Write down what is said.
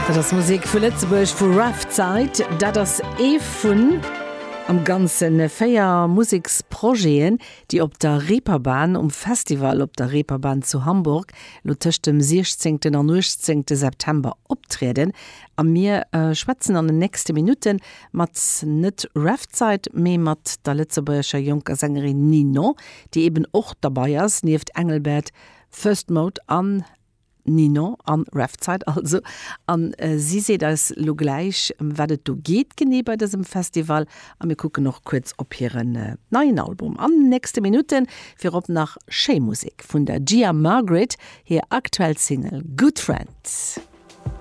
Dat ass Musek vu Lëtzebuerg, vu Rough Zeit. Dat ass ee vun am Ganze 4 Museksprojeten, déi op der Reeperbahn, um Festival op der Reeperbahn zu Hamburg, elo tëscht dem 16. an 18. September optrieden. A mir schwätzen an den nächste Minutte mat net Rough Zeit, mee mat der lëtzebuergescher jonker Sängerin Ninon, déi eben och derbei ass, nieft Engelbert, First Mode an Ninon an Revzeit also. An si seet eis lo gläich, ëm wat et do geet genee bei dësem Festival. A mir kucken och kuerz op hiren neien Album an den nächste Minutten. Virop nach schéi Musek vun der Gia Margaret, hir aktuell Single Good Friends.